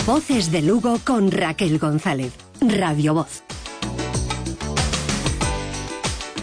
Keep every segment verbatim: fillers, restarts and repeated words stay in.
Voces de Lugo con Raquel González. Radio Voz.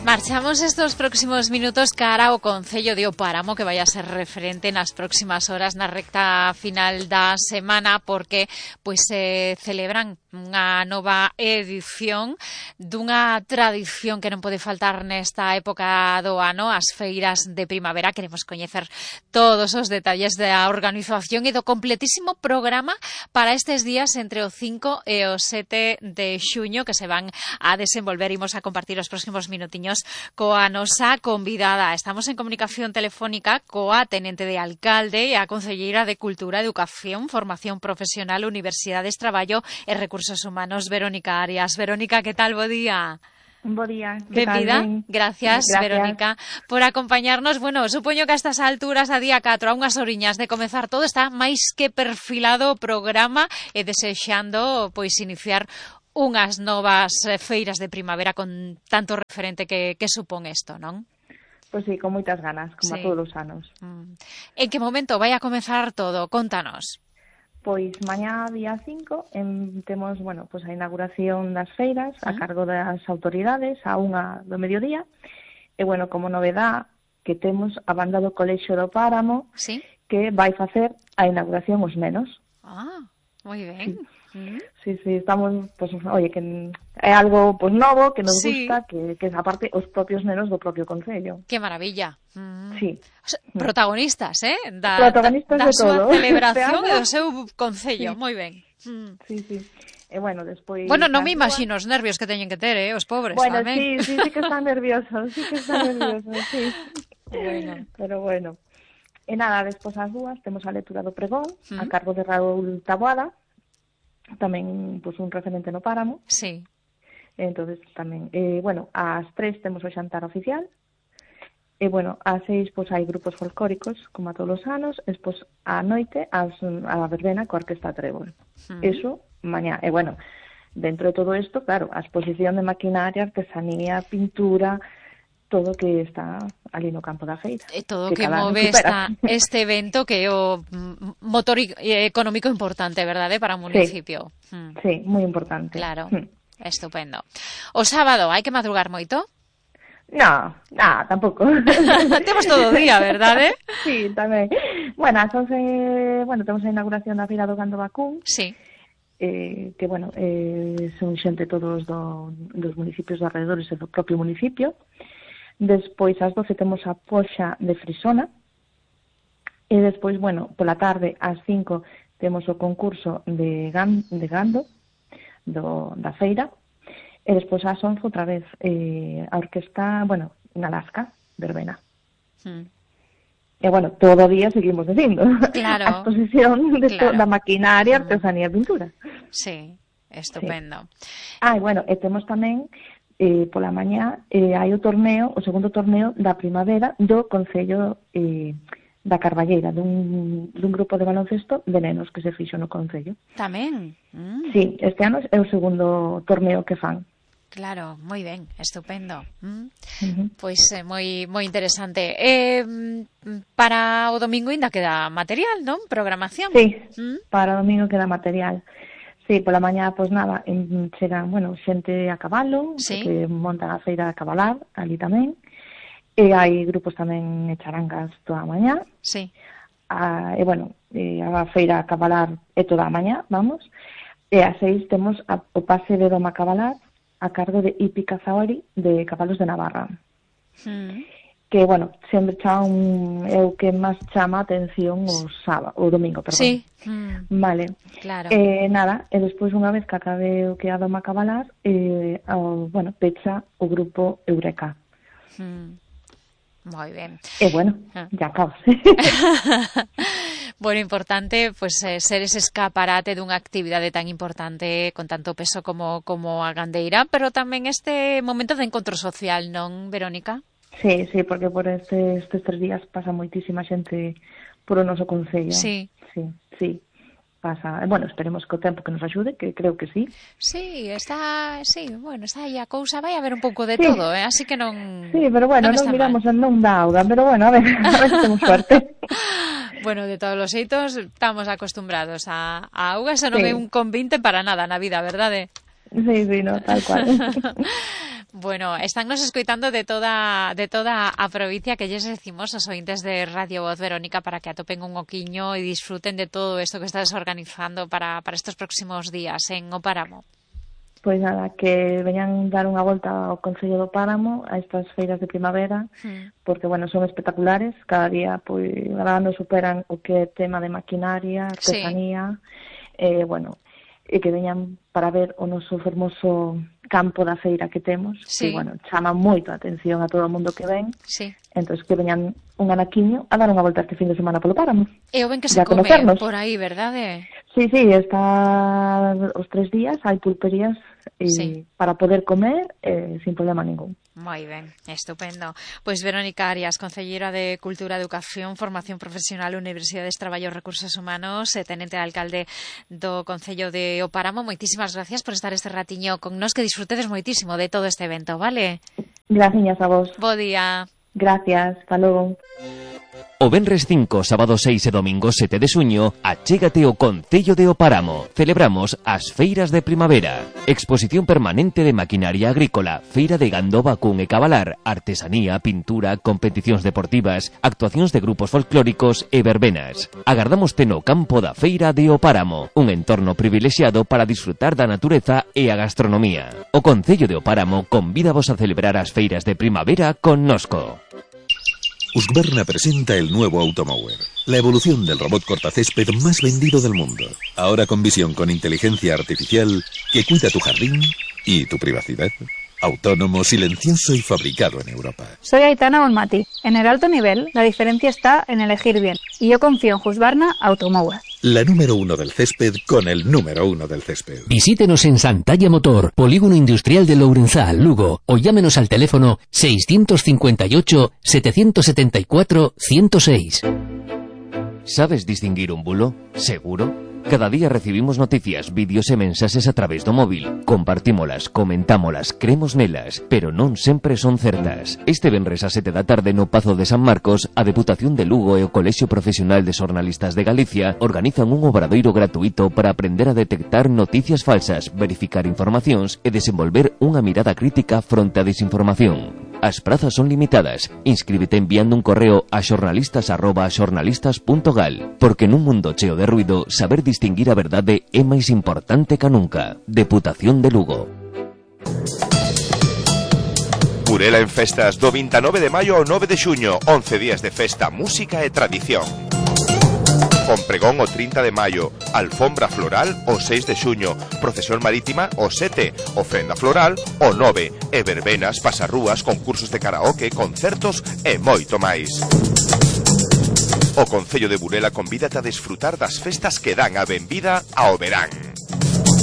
Marchamos estos próximos minutos cara ao Concello de O Páramo, que vai a ser referente nas próximas horas na recta final da semana, porque pois se celebran unha nova edición dunha tradición que non pode faltar nesta época do ano, as feiras de primavera. Queremos coñecer todos os detalles da organización e do completísimo programa para estes días entre o cinco e o sete de xuño, que se van a desenvolver. Imos a compartir os próximos minutiños coa nosa convidada. Estamos en comunicación telefónica coa tenente de alcalde e a concelleira de Cultura, Educación, Formación Profesional, Universidades, Traballo e Recursos Humanos, Verónica Arias. Verónica, que tal? Bo día. Bo día. Benvida. Gracias, Gracias, Verónica, por acompañarnos. Bueno, supoño que a estas alturas, a día catro, a unhas oriñas de comezar todo, está máis que perfilado o programa e desexando pois iniciar unhas novas feiras de primavera con tanto referente que, que supón isto, non? Pois sí, con moitas ganas, como sí. A todos os anos. Mm. En que momento vai a comezar todo? Contanos. Pois mañá día cinco en, temos, bueno, pois a inauguración das feiras uh-huh. a cargo das autoridades a unha do mediodía. E, bueno, como novedad que temos a banda do Colexio do Páramo, ¿sí? Que vai facer a inauguración os nenos. Ah, moi ben. Sí. Uh-huh. Sí, sí, estamos, pues, oye, que é algo pues novo, que nos sí. gusta, que, que aparte os propios nenos do propio concello. Que maravilla. Mm. Sí. O sea, protagonistas, eh? Da, protagonistas da, da de todo. Da súa celebración e do seu concello, sí. Moi ben. Mm. Sí, sí. E bueno, despois... Bueno, non me imagino os nervios que teñen que ter, eh, os pobres bueno, tamén. Bueno, sí, sí, sí que están nerviosos, sí que están nerviosos, sí. Bueno, pero bueno. E nada, despois as dúas temos a lectura do pregón, mm. a cargo de Raúl Taboada, tamén pues, un referente no Páramo. Sí. Entonces tamén, eh, bueno, ás tres temos o xantar oficial. E bueno, ás seis pues, hai grupos folclóricos, como a todos os anos. Despois á noite as, a verbena coa Orquesta Trébol. Mm. Eso, mañá. E bueno, dentro de todo isto, claro, a exposición de maquinaria, artesanía, pintura, todo que está ali no campo da feira. E todo que, que move esta, este evento que é o motor económico importante, verdade, para o municipio. Sí, mm. sí, moi importante. Claro, mm. Estupendo. O sábado, hai que madrugar moito? No, no, tampouco. Temos todo o día, verdade? Sí, tamén. Bueno, as once, bueno, temos a inauguración da Feira do Gando Vacún. Sí. Eh, que, bueno, eh, son xente todos do, dos municipios de alrededores e do propio municipio. Despois, ás doce, temos a poxa de Frisona. E despois, bueno, pola tarde, ás cinco, temos o concurso de, gan, de gando do, da feira. E despois, ás once, outra vez, eh, a orquesta, bueno, na Lasca, verbena. Hmm. E, bueno, todo o día seguimos dicindo. Claro. A exposición de claro. To, da maquinaria, artesanía e pintura. Sí, estupendo. Sí. Ah, e, bueno, e temos tamén... Eh, pola mañá eh, hai o torneo, o segundo torneo da primavera do Concello eh, da Carballeira, dun, dun grupo de baloncesto de nenos que se fixo no Concello. Tamén? Mm. Sí, este ano é o segundo torneo que fan. Claro, moi ben, estupendo. Mm. Uh-huh. Pois é eh, moi moi interesante. Eh, para o domingo ainda queda material, non? Programación. Sí, mm. para o domingo queda material. Sí, pola mañá, pois nada, en, chegan, bueno, xente a cabalo, sí. Que montan a feira a cabalar, ali tamén. E hai grupos tamén e charangas toda a mañá. Sí. A, e, bueno, e a feira a cabalar é toda a mañá, vamos. E a seis temos a, o pase de doma a cabalar a cargo de Ipi Cazaori de Cabalos de Navarra. Mm. Que, bueno, sempre chama un, é o que máis chama a atención o sábado, o domingo, perdón. Sí. Mm. Vale. Claro. Eh, nada, e despois unha vez que acabe o que a doma cabalar, eh, o, bueno, pecha o grupo Eureka. Mm. Moi ben. E, bueno, ah. ya acabas. Bueno, importante pues, eh, ser ese escaparate dunha actividade tan importante con tanto peso como, como a gandeira, pero tamén este momento de encontro social, non, Verónica? Sí, sí, porque por este, estes tres días pasa moitísima xente por o noso concello. Sí. Sí, sí. pasa, bueno, esperemos que o tempo que nos axude, que creo que sí. Sí, está, sí, bueno, está aí a cousa, vai haber un pouco de sí. todo, eh? Así que non. Sí, pero bueno, non, non miramos mal. Non da auga, pero bueno, a ver, a ver se temos suerte. Bueno, de todos os xeitos, estamos acostumbrados a, a auga, eso non sí. é un convinte para nada na vida, verdade? Sí, sí, no, tal cual. Bueno, estánnos escoitando de toda de toda a provincia, que lles decimos aos ointes de Radio Voz, Verónica, para que atopen un oquiño e disfruten de todo isto que estás organizando para, para estos próximos días en O Páramo. Pois nada, que veñan dar unha volta ao Concello do Páramo a estas feiras de primavera, mm. porque, bueno, son espectaculares, cada día, pois, cada ano superan o que é tema de maquinaria, artesanía, sí. eh, bueno, e que veñan para ver o noso fermoso campo da feira que temos, sí. que, bueno, chama moito a atención a todo o mundo que ven, sí. entón que veñan un anaquiño a dar unha volta este fin de semana polo Páramo. E o ben que se come por aí, verdade? Sí, sí, está os tres días, hai pulperías e sí. para poder comer eh, sin problema ningún. Moi ben, estupendo. Pois Verónica Arias, Concelleira de Cultura, Educación, Formación Profesional, Universidades, Traballo e Recursos Humanos, e tenente alcalde do Concello de O Páramo, moitísimas gracias por estar este ratiño con nós, que disfrutedes moitísimo de todo este evento, vale? Gracias a vos. Bo día. Gracias, hasta logo. O venres cinco, sábado seis e domingo sete de xuño, achégate ao Concello de O Páramo. Celebramos as feiras de primavera. Exposición permanente de maquinaria agrícola, feira de gando, vacún e cabalar, artesanía, pintura, competicións deportivas, actuacións de grupos folclóricos e verbenas. Agardámoste no campo da feira de O Páramo, un entorno privilexiado para disfrutar da natureza e a gastronomía. O Concello de O Páramo convídavos a celebrar as feiras de primavera con Nosco. Husqvarna presenta el nuevo Automower, la evolución del robot cortacésped más vendido del mundo. Ahora con visión con inteligencia artificial que cuida tu jardín y tu privacidad. Autónomo, silencioso y fabricado en Europa. Soy Aitana Bonmati. En el alto nivel, la diferencia está en elegir bien. Y yo confío en Husqvarna Automower. La número uno del césped con el número uno del césped. Visítenos en Santalla Motor, Polígono Industrial de Lourenzal, Lugo, o llámenos al teléfono seiscientos cincuenta y ocho, setecientos setenta y cuatro, ciento seis. ¿Sabes distinguir un bulo? ¿Seguro? Cada día recibimos noticias, vídeos e mensaxes a través do móvil. Compartímolas, comentámolas, cremos nelas, pero non sempre son certas. Este venres a sete da tarde no Pazo de San Marcos, a Deputación de Lugo e o Colexio Profesional de Xornalistas de Galicia organizan un obradoiro gratuito para aprender a detectar noticias falsas, verificar informacións e desenvolver unha mirada crítica fronte á desinformación. As prazas son limitadas. Inscríbete enviando un correo a xornalistas arroba xornalistas punto gal, porque nun mundo cheo de ruido, saber distinguir a verdade é máis importante que nunca. Deputación de Lugo. Burela en festas do vinte e nove de maio ao nove de xuño, once días de festa, música e tradición. Con pregón o trinta de maio, alfombra floral o seis de xuño, procesión marítima o sete, ofrenda floral o nove, e verbenas, pasarrúas, concursos de karaoke, concertos e moito máis. O Concello de Burela convídate a desfrutar das festas que dan a benvida ao verán.